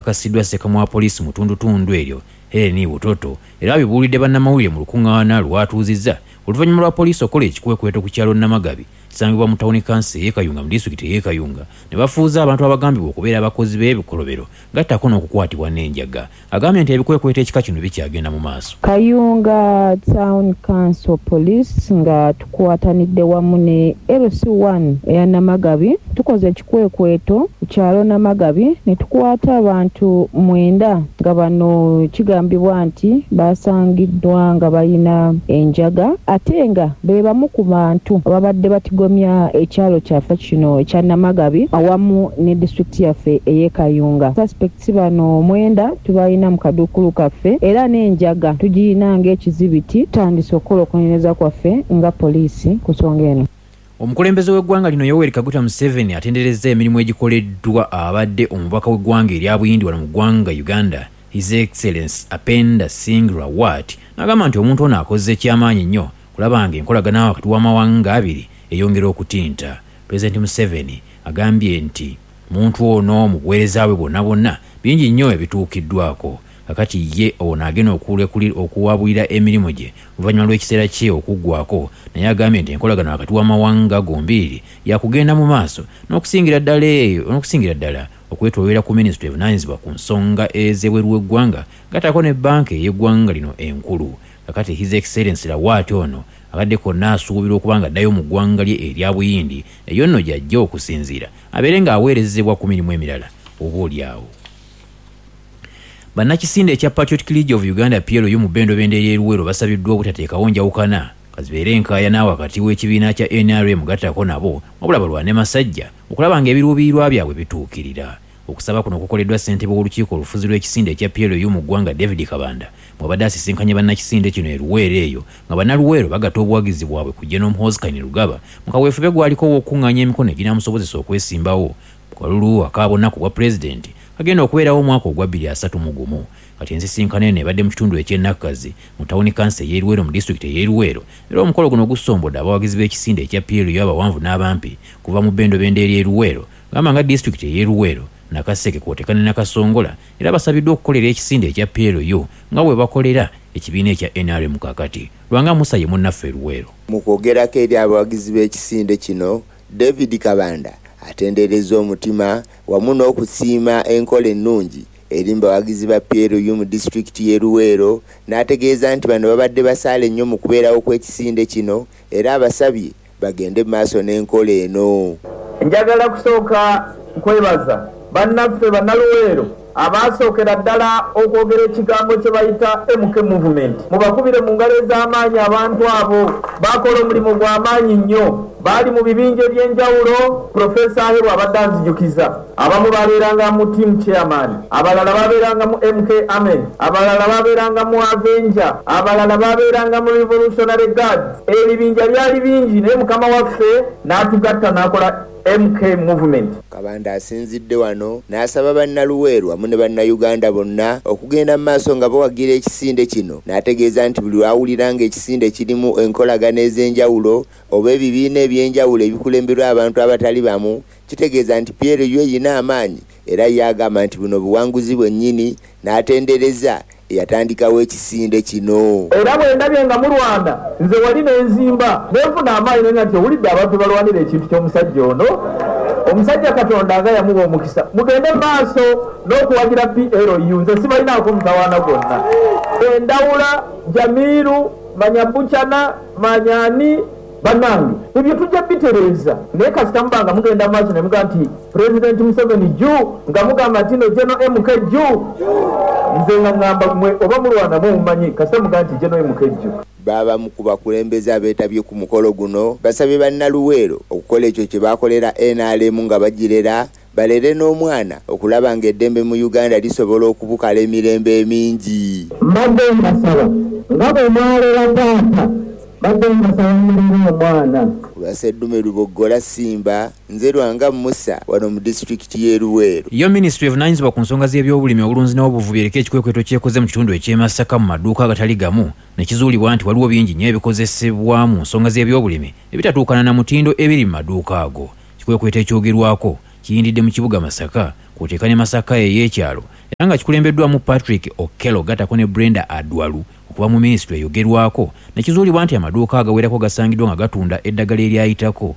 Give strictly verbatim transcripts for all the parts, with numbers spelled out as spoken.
Bikakasiddwa ssekamwa wa poliisi mu ttundutundu eryo Helen Butoto, era abibuulidde bannamawulire mu lukuŋŋaana lwatuuzizza oluvannyuma lwa poliisi okukola ekikwekweto ku kyalo Namagabi kisangibwa mu tawuni kanso ey'e Kayunga mu disitulikiti ey'e Kayunga ne bafuuza abantu abagambibwa okubeera abakozi b'ebikolobero gattako n'okukwatibwa n'enjaga. Agambye nti ebikwekweto ekika kino bikyagenda mu maaso. Kayunga Town Council Police nga tukwatanidde wamu ne L C one eya Namagabi tukoze ekikwekweto ku kyalo Namagabi ne tukwata abantu mwenda nga bano kigambibwa nti basangiddwa nga balina enjaga ate nga be bamu ku bantu ababadde batigomya ekyalo kyaffe kino ekya Namagabi awamu ne disitulikiti yaffe ey'e Kayunga. Suspects bano mwenda tubalina mu kaduukulu kaffe era n'enjaga tugiyina ng'ekizibiti. Tutandise okukola okunoonyereza kwaffe nga poliisi ku nsonga eno. Omukulembeze w'eggwanga lino Yoweri Kaguta Museveni atenderezza emirimu egikoleddwa abadde omubaka w'eggwanga erya Buyindi wano mu ggwanga Uganda, His Excellence Apenda Singh Rawat, n'agamba nti omuntu ono akoze ekyamaanyi nnyo kulaba nga enkolagana wakati w'amawanga abiri eyongera okutinta. Pulezidenti Museveni agambye nti muntu ono mu buweereza bwe bwonna bwonna bingi nnyo ebituukiddwako. Kakati ye ono agenda okuwabulira emirimu gye oluvannyuma lw'ekiseera kye okuggwako, naye agambye nti enkolagana wakati w'amawanga gombiriri yakugenda mu maaso n'okusingira ddala eyo n'okusingira ddala okwetoolera ku minisitule evunaanyizibwa ku nsonga ez'ebweru w'eggwanga gattako ne bbanka ey'eggwanga lino enkulu. Kakati His Excellence Rawat ono abadde konna asuubirwa okuba nga addayo mu ggwanga lye erya Buyindi, eyo nno gy'ajja okusinziira abeere ng'aweerezebwa ku mirimu emirala oba oliawo. Bannakisinde ekya Patriotic League of Uganda P L U mu bbendobendo ery'e Luweero basabiddwa obutateekawo njawukana kazibeere enkaayana wakati w'ekibiina kya N R M gattako nabo, wabula balwane masajja okulaba ng'ebiruubirirwa byabwe bituukirira. Okusaba kuno kukoleddwa ssentebe w'olukiiko olufuzi lw'ekisinde ekya P L U mu ggwanga David Kabanda bw'abadde asisinkanye bannakisinde kino e Luweero eyo nga bannaluweero bagatta obuwagizi bwabwe ku General Muhoozi Kainerugaba mu kaweefube gwaliko ow'okuŋŋaanya emikono eginaamusobozesa okwesimbawo ku kalulu aka bonna ku bwa pulezidenti kagenda okubeerawo omwaka ogwa bbiri asatu mu gumu. Kati ensisinkano eno ebadde mu kitundu eky'e Nakkazi mu tawuni kanso ey'e Luweero mu disitulikiti ey'e Luweero, era omukolo guno gusombodde abawagizi b'ekisinde ekya P L U abawanvu n'abampi kuva mu bbendobendo ery'e Luweero gamba nga disitulikiti ey'e Luweero, Nakaseke kw'oteeka ne Nakasongola, era basabiddwa okukolera ekisinde ekya P L U nga bwe bakolera ekibiina ekya N R M kaakati. Lwanga Musa ye munnaffe e Luweero. Mu kwogerako eri abawagizi b'ekisinde kino, David Kabanda atenderezza omutima wamu n'okusiima enkola ennungi eri mu bawagizi ba P L U mu disitulikiti y'e Luweero, n'ategeeza nti bano babadde basaale nnyo mu kubeerawo kw'ekisinde kino era abasabye bagende mu maaso n'enkola eno. Njagala kusooka kwebaza bannaffe bannaluweero abaasookera ddala okwogera ekigambo kye bayita M K Movement. Mubakubire mu ngalo ez'amaanyi abantu abo, baakola omulimu gw'amaanyi nnyo. Baali mu bibinja eby'enjawulo, Profesa Aheru abadde anzijukiza. Abamu babeeranga mu team chairman, abalala babeeranga mu M K Army, abalala babeeranga mu Avenger, abalala babeeranga mu Revolutionary Guards. Ebibinja byali bingi naye Mukama waffe n'atugatta n'akola M K Movement. Kabanda asinzidde wano n'asaba bannaluweero wamu ne bannayuganda bonna okugenda mu maaso nga bawagira ekisinde kino, n'ategeeza nti buli lw'awulira ng'ekisinde kirimu enkolagana ez'enjawulo oba ebibiina eby'enjawulo ebikulemberwa abantu abatali bamu, kitegeeza nti P L U erina amaanyi, era ye agamba nti buno buwanguzi bwennyini, n'atendereza eyatandikawo ekisinde kino. Era bwe ndabye nga mulwana nze wali n'enzimba nenfuna amaanyi nenga nti owulidde abantu balwanira ekintu ky'omusajja ono, omusajja Katonda nga yamuwa omukisa. Mugende mu maaso n'okuwagira P L U, nze sibalinaako mutawaana gwonna. Endawula, Jamiru, Manyabuchana, Manyani, bannange ebyo tujja bitereeza, naye kasita muba nga mugenda maaso ne mugamba nti Pulezidenti Museveni juu, nga mugamba nti no General M K juu, nze nga ŋŋamba mmwe oba mulwana mumanyi, kasita mugamba nti General M K juu. Baabamu ku bakulembeze abeetabye ku mukolo guno basabye bannaluweero okukola ekyo kye baakolera N R M nga bagirera, balere n'omwana okulaba ng'eddembe mu Uganda lisobola okubukala emirembe emingi. Mbadde mbasaba nga bwe mwalera taata, mbadde mbasaba mulere omwana. Ku lwa Sseddume Luboggola Simba, nze Lwanga Musa wano mu disitulikiti y'e Luweero. Yo minisitule evunaanyizibwa ku nsonga z'ebyobulimi, obulunzi n'obuvubi eriko ekikwekweto kyekoze mu kitundu eky'e Masaka mu maduuka agatali gamu ne kizuulibwa nti waliwo bingi nnyo ebikozesebwa mu nsonga z'ebyobulimi ebitatuukana na mutindo ebiri mu maduuka ago. Ekikwekweto ekyogerwako kiyindidde mu kibuga Masaka, kw'oteeka ne Masaka ey'ekyalo era nga kikulembeddwamu Patrick Okello gattako ne Brenda Adwalu okuva mu minisitule eyogerwako, ne kizuulibwa nti amaduuka agawerako gasangiddwa nga gatunda eddagala eryayitako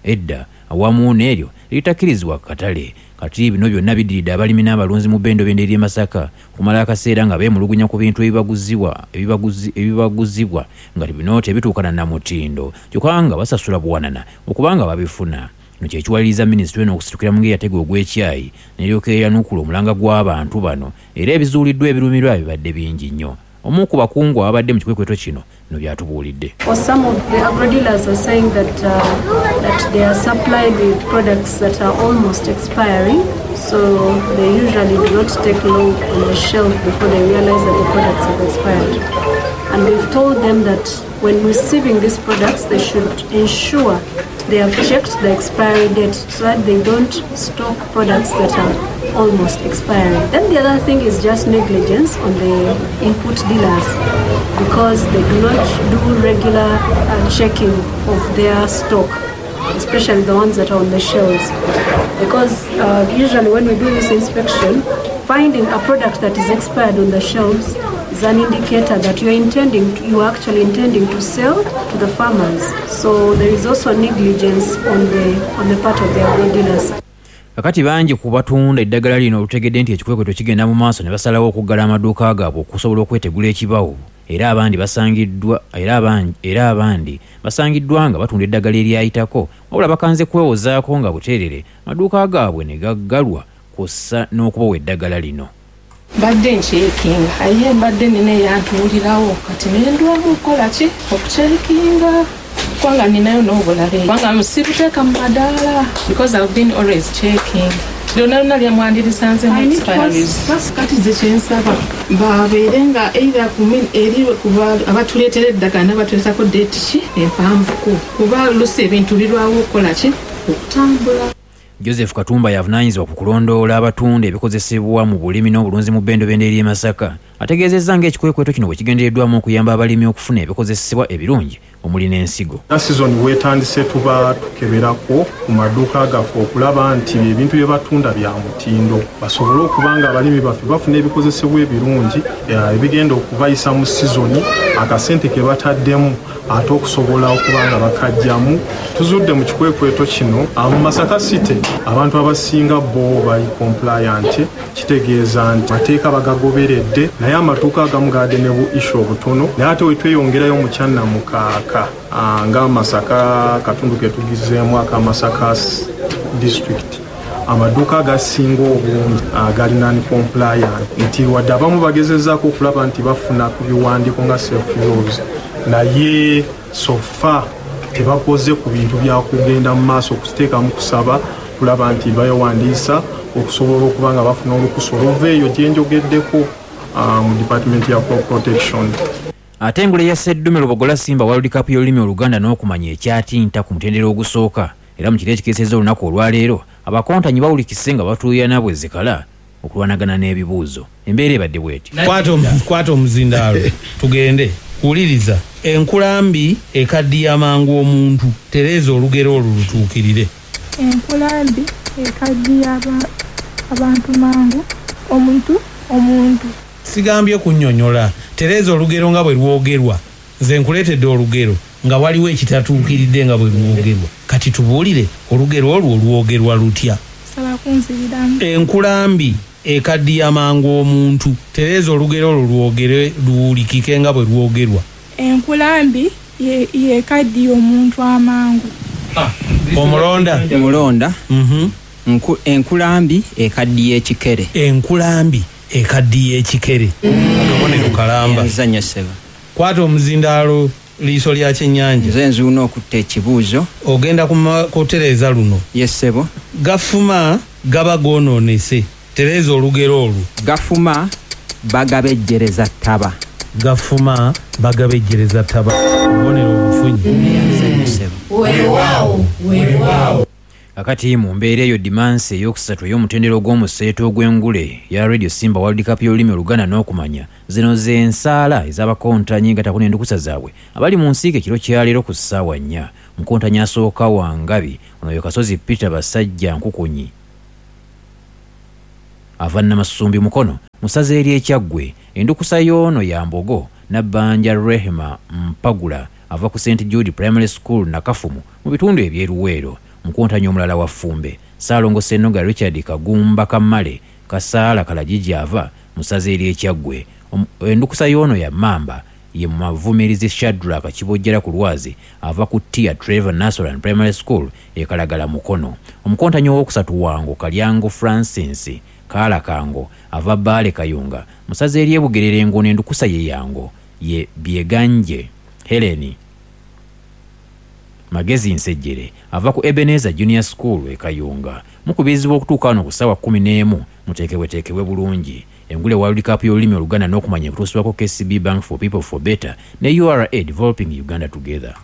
edda awamu n'eryo eritakkirizibwa ku katale. Kati bino byonna biddiridde abalimi n'abalunzi mu bbendobendo ery'e Masaka okumala akaseera nga beemulugunya ku bintu ebibaguzibwa ebibaguzi ebibaguzibwa nga bino tebituukana na mutindo, kyokka nga basasula buwanana okubanga babifuna. Kino kye kiwaliriza minisitule eno okusitukira mu ngeri yatega ogw'ekyayi n'eryoka eyanukula omulanga gw'abantu bano, era ebizuuliddwa ebirumirwa bibadde bingi nnyo. Omu ku bakungu ababadde mu kikwekweto kino bino byatubuulidde. Or some of the agro dealers are saying that, uh, that they are supplied with products that are almost expiring, so they usually do not take long on the shelf before they realize that the products have expired. And we've told them that when receiving these products, they should ensure they have checked the expiry date so that they don't stock products that are almost expiring. Then the other thing is just negligence on the input dealers, because they do not do regular uh, checking of their stock, especially the ones that are on the shelves. Because uh, usually when we do this inspection, finding a product that is expired on the shelves is an indicator that you are intending to, you are actually intending to sell to the farmers. So there is also negligence on the on the part of the agro dealers. Kakati bangi ku batunda eddagala lino olutegedde nti ekikwekweto kigenda mu maaso ne basalawo okuggala amaduuka gaabwe okusobola okwetegula ekibawo, era abandi basangiddwa era abandi era abandi basangiddwa nga batunda eddagala eryayitako, wabula bakanze kwewozaako nga buteerere amaduuka gaabwe ne gaggalwa kw'ossa n'okubawa eddagala lino. Mbadde ncheckinga aye mbadde nina eyantuulirawo kati nendwamu okukola ki okucheckinga kubanga ninayo n'obulala kubanga sibuteeka mu madaala because I've been always checking. Lyonna lyonna lyamwandirisanzeemu expiries. Kati ze kyensaba babeere nga either eri abatuleetera eddagala n'abatuleetako date ki empanvuko, kuba oluusi ebintu birwawo okukola ki okutambula. Joseph Katumba yavunaanyizibwa ku kulondoola abatunda ebikozesebwa mu bulimi n'obulunzi mu bbendobendo ery'e Masaka ategeezezza ng'ekikwekweto kino bwe kigendereddwamu okuyamba abalimi okufuna ebikozesebwa ebirungi omuli n'ensigo. Sizoni weetandise tuba tukeberako ku maduuka gaffe okulaba nti ebintu bye batunda bya mutindo, basobole okuba nga abalimi baffe bafuna ebikozesebwa ebirungi ebigenda okubayisa mu sizoni akasente ke bataddemu ate okusobola okuba nga bakajjamu. Tuzudde mu kikwekweto kino mu Masaka City abantu abasinga bo bali compliant, kitegeeza nti mateeka bagagoberedde, naye amaduuka agamu gaadde ne bu issue obutono, naye ate we tweyongerayo mu Kyannamukaaka nga Masaka katundu ke tugizeemu aka Masaka district, amaduuka agasinga obungi gali non-compliant, nti wadde abamu bagezezaako okulaba nti bafuna ku biwandiiko nga self use, naye so far tebakoze ku bintu byakugenda mu maaso okuteekamu kusaba kulaba nti bayowandiisa okusobola okuba nga bafuna olukusa oluva eyo gye njogeddeko mu department ya crop protection. Ate engule ya Sseddume Lubogola Simba World Cup y'olulimi Oluganda n'okumanya ekyatinta ku mutendera ogusooka, era mu kiro ekikeesezza olunaku olwaleero abakontanyi bawulikise nga batuuyana bwe zikala okulwanagana n'ebibuuzo. Embeera ebadde bw'eti. Kwata omuzindaalo tugende kuwuliriza. Enkulambi ekaddiya mangu omuntu, tereeza olugero olwo lutuukirire. Enkulambi ekaddiya abantu mangu omuntu omuntu. Sigambye kunnyonnyola, tereeza olugero nga bwe lwogerwa. Nze nkuleetedde olugero nga waliwo ekitatuukiridde nga bwe lwogerwa. Kati tubuulire olugero olwo lwogerwa lutya? Saba kunziriramu. Enkulambi ekaddiya mangu omuntu, tereeza olugero olwo lwogere luwulikike nga bwe lwogerwa. Enkulambi yekaddiya omuntu amangu. Omulonda. Omulonda. Mm-hmm. Enkulambi ekaddiya ekikere. Enkulambi ekaddiya ekikere. Akabonero kalamba. Nzanyo seba. Kwata omuzindaalo liiso lya kyennyanja. Nze nzuuno okutta ekibuuzo. Ogenda kutereeza luno. Yes ssebo. Gafuma gaba goonoonese. Tereeza olugero olwo. Gafuma bagabejjereza ttaba. Gafuma bagabejjereza ttaba. Obubonero obufunyi. Weewaawo, weewaawo. Kakati mu mbeera eyo dimansi ey'okusatu ey'omutendera ogw'omuseeto ogw'engule ya Radio Simba World Cup y'olulimi Oluganda n'okumanya, zino ze nsaala ez'abakontanyi gattako n'endukusa zaabwe abali mu nsiike ekiro kya leero ku ssaawa nnya. Omukontanyi asooka wa Ngabi ono ye Kasozi Peter Basajja Nkukunyi. ava Namasumbi Mukono mu ssaza ery'Ekyaggwe. Endukusa y'ono ya Mbogo. Nabbanja Rehema Mpagula ava ku Saint Jude Primary School Nakafumu mu bitundu eby'e Luweero. Mukontanyi omulala wa Ffumbe, Ssaalongo Ssennoga Richard Kagumba Kamale Kasaala Kalagigi ava mu ssaza ery'Ekyaggwe. Endukusa y'ono ya Mmamba. Ye Mavumirizi Shadrack Kibojjera ku Lwazi ava ku Tia Trevor Nasolan Primary School e Kalagala Mukono. Omukontanyi owokusatu wango Kalyango Francis Kaalakango ava Bbaale Kayunga mu ssaza ery'e Bugerere, ng'ono endukusa ye yango. Ye Byeganje Helen Magezi Nsejjere ava ku Ebenezer Junior School e Kayunga. Mukubirizibwa okutuuka wano ku ssaawa kkumi n'emu, muteekebweteekebwe bulungi. Engule World Cup y'olulimi Oluganda n'okumanya ekutuusibwako K C B Bank, for people, for better, ne U R A, developing Uganda together.